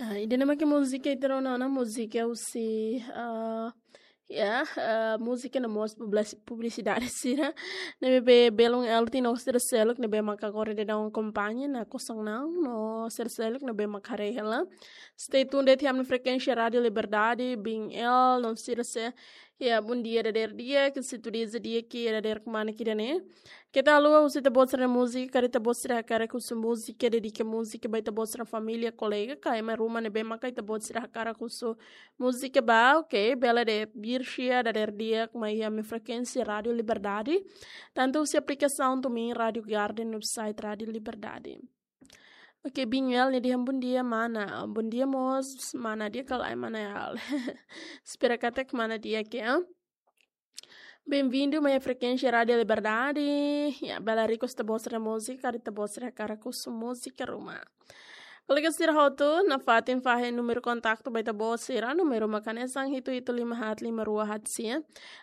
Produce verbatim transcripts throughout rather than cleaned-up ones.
Ah, ida-ne'e mak múzika ita rona ona, múzika husi, ah, ya, ah, múzika no mós publis-, publisidade sira. Ne'ebé belun L T no sira seluk ne'ebé mak agora daudaun akompaña ona kosong na'in no sira seluk ne'ebé mak haree hela. Stay tuned de'it iha ami-nia frekuénsia Rádio Liberdade, Bin L, no sira se-, ya, bondia dadeer di'ak, ke situ di'ak, di'ak ke dadeer kemana ke ida-ne'e. Keta haluha husu ita-boot sira-nia múzika, karik ita-boot sira hakarak husu múzika, dedika múzika ba ita-boot sira-nia família, kolega, ka ema ruma ne'ebé maka ita-boot sira hakarak husu múzika ba, oke, bele de'it, birxia dadeer di'ak mai iha ami-nia frekuénsia Rádio Liberdade. Tantu husi aplikasaun TuneIn, Rádio Garden, website Rádio Liberdade. Oke, Bin L nia dehan bondia mana. Bondia mós mana, di'ak ka lae mana ya. Espera katak mana di'ak ya. Bem-vindo mai frekuénsia Rádio Liberdade. Ya, bele request ita-boot sira-nia múzika, karik ita-boot sira hakarak husu múzika ruma. Kolega sira hotu, nafatin fahe númeru kontaktu ba ita-boot sira, númeru mak hanesan hitu hitu lima haat lima rua haat sia,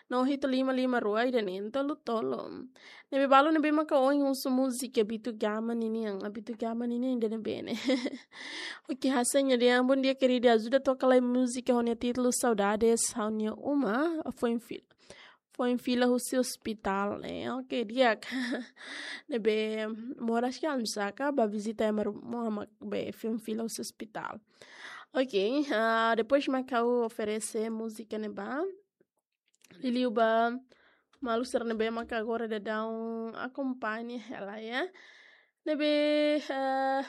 no hitu lima lima rua ida neen tolu tolu. Ne'ebé balu ne'ebé maka ohin husu múzika Bitu Gama ninian, ah, Bitu Gama ninian ida-ne'ebé ne'e. Oke, hanesan nia dehan, bondia querida, ajuda toka lai múzika ho nia títulu Saudades, ha'u-nia uma foin fila. Foin fila husi ospitál, eh, oke, di'ak. Ne'ebé moras ke almsaka, ba vizita ema ruma mak be foin fila husi ospitál. Oke, ah, depois mak ha'u oferese múzika ne'ebá. Liuliu ba maluk sira ne'ebé maka agora daudaun akompaña hela ya. Ne'ebé, eh,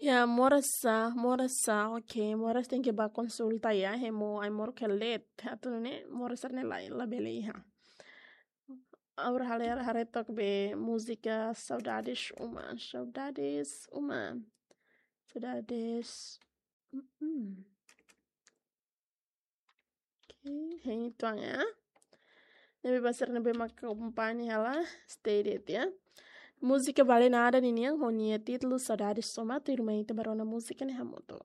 ya, moras sá, moras sá, oke, moras tenke ba konsulta ya, hemu ai-moruk hela de'it, atu nune'e moras sira-ne'e la, labele iha. Agora ha'u haree, haree took be múzika Saudades Uma, Saudades Uma, Saudades, mm-mm. Oke, hein tuan ya. Ne'ebé ba sira ne'ebé maka akompaña hela, stay de'it ya. Múzika Vale Nada ninian, ho nia títulu Saudades Uma, tuirmai ita bá rona múzika ne'e hamutuk.